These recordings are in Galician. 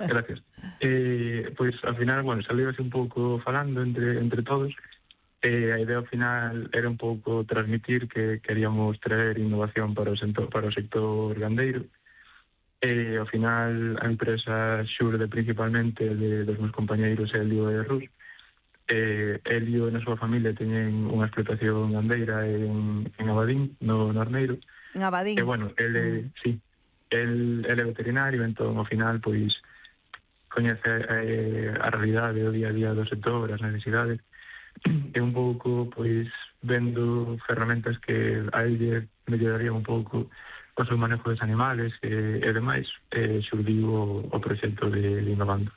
Gracias. Pois, ao final, bueno, saliu así un pouco falando entre todos. A idea ao final era un pouco transmitir que queríamos traer innovación para o sector gandeiro. Ao final, a empresa xurde principalmente dos meus compañeiros Helio e Rus. Helio e na súa familia teñen unha explotación gandeira en Abadín, no Arneiro. En Abadín. E, bueno, sí, el é veterinario, entón, ao final, pois, coñece a realidade do día a día do sector, as necesidades, e un pouco, pois, vendo ferramentas que a ele mellorarían un pouco o seu manejo dos animales e demais, xurdiu o proxecto de Innovando.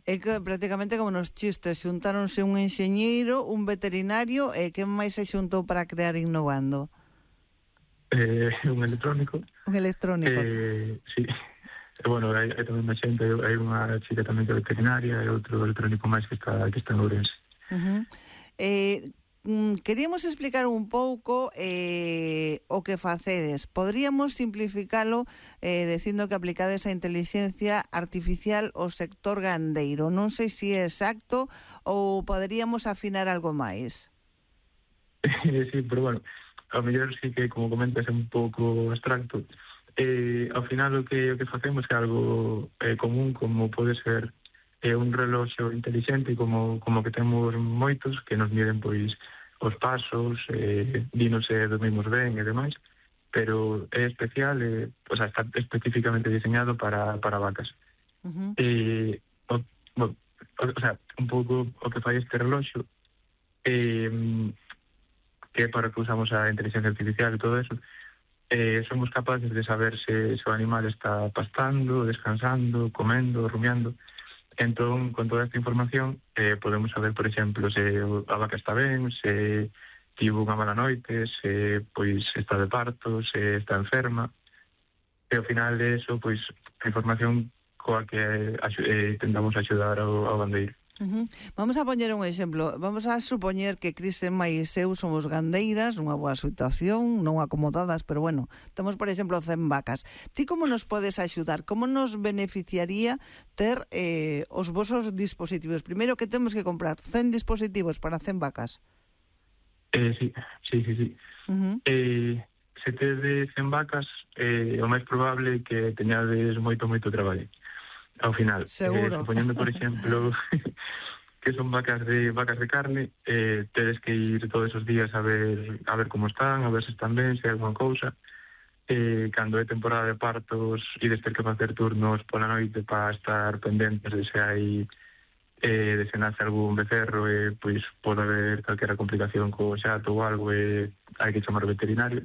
É que prácticamente como nos chistes xuntáronse un enxeñeiro, un veterinario e que máis se xuntou para crear Innovando? Un electrónico. Un electrónico. Sí. Bueno, hai tamén máis xente, hai unha chica tamén que é veterinaria e outro electrónico máis que está en Ourense. Queríamos explicar un pouco o que facedes. Podríamos simplificalo dicindo que aplicades a inteligencia artificial ao sector gandeiro. Non sei se é exacto ou poderíamos afinar algo máis. Sí, pero bueno, ao mellor sí que, como comentas, é un pouco abstracto. Ao final o que facemos é algo común, como pode ser un reloxo inteligente, como que temos moitos, que nos miden pois os pasos, dinose dormimos ben e demais, pero é especial, o sea, está especificamente diseñado para vacas. O sea, un pouco o que fai este reloxo, que é para que usamos a inteligencia artificial e todo eso, somos capaces de saber se o animal está pastando, descansando, comendo, rumiando. Entón, con toda esta información, podemos saber, por exemplo, se a vaca está ben, se tivo unha mala noite, se pois está de parto, se está enferma. E ao final de eso, pois, a información coa que tentamos axudar ao gandeiro. Vamos a poñer un exemplo. Vamos a supoñer que Cris e máis eu somos gandeiras, unha boa situación, non acomodadas, pero bueno, temos, por exemplo, 100 vacas. Ti como nos podes axudar? Como nos beneficiaría ter os vosos dispositivos? Primeiro, que temos que comprar 100 dispositivos para 100 vacas? Sí. Se tedes 100 vacas, o máis probable é que teñades moito traballo. Ao final, supoñendo, por exemplo, que son vacas de carne, tedes que ir todos os días a ver como están, a ver se están ben, se hai alguna cousa. Cando é temporada de partos, ides ter que facer turnos pola noite para estar pendentes de se hai de se nace algún becerro, pois pode haber calquera complicación co xato ou algo, hai que chamar veterinario.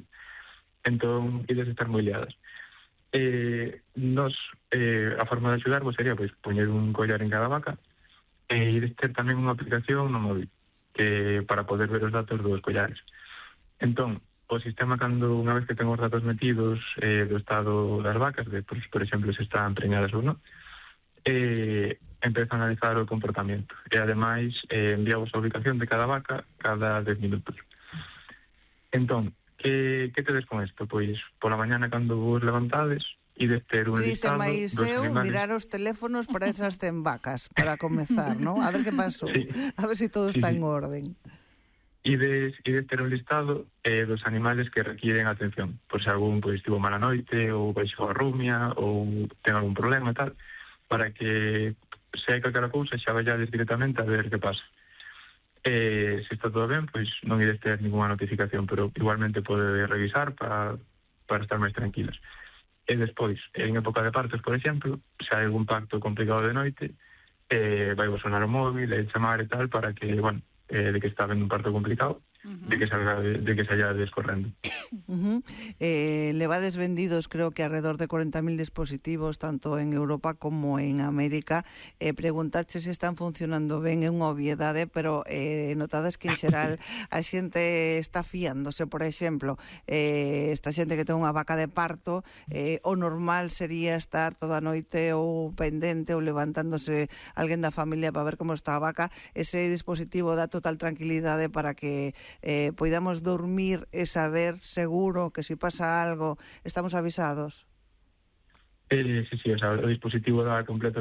Entón, ides estar moi liadas. A forma de axudarvos sería pois poñer un collar en cada vaca e ir ter tamén unha aplicación no móvil para poder ver os datos dos collares. Entón, o sistema, cando unha vez que ten os datos metidos do estado das vacas, de, por exemplo, se están preñadas ou non, empeza a analizar o comportamento e ademais enviamos a ubicación de cada vaca cada 10 minutos. Entón, que tedes con isto? Pois, pola mañana, cando vos levantades, ides ter un listado dos animales. Mirar os teléfonos para esas 100 vacas, para comezar, ¿no? A ver que pasou, sí. A ver se todo está en orden. Ides ter un listado dos animales que requieren atención, por se algún pois tivo mala noite, ou baixou a rumia, ou ten algún problema e tal, para que se hai calquera cousa xa vayades directamente a ver que pasa. Se está todo ben, pois non ides ter ninguna notificación, pero igualmente pode revisar para estar máis tranquilas. E despois, en época de partos, por exemplo, se hai algún parto complicado de noite, vai vos sonar o móvil e chamar e tal para que, bueno, de que está vendo un parto complicado, de que saia descorrendo. Levades vendidos, creo que alrededor de 40.000 dispositivos, tanto en Europa como en América. Preguntache se están funcionando ben, é unha obviedade, pero notades que en xeral a xente está fiándose. Por exemplo, esta xente que ten unha vaca de parto, o normal sería estar toda a noite ou pendente ou levantándose alguén da familia para ver como está a vaca. Ese dispositivo dá total tranquilidade para que poidamos dormir e saber seguro que se pasa algo estamos avisados. Sí, o sea, o dispositivo dá completo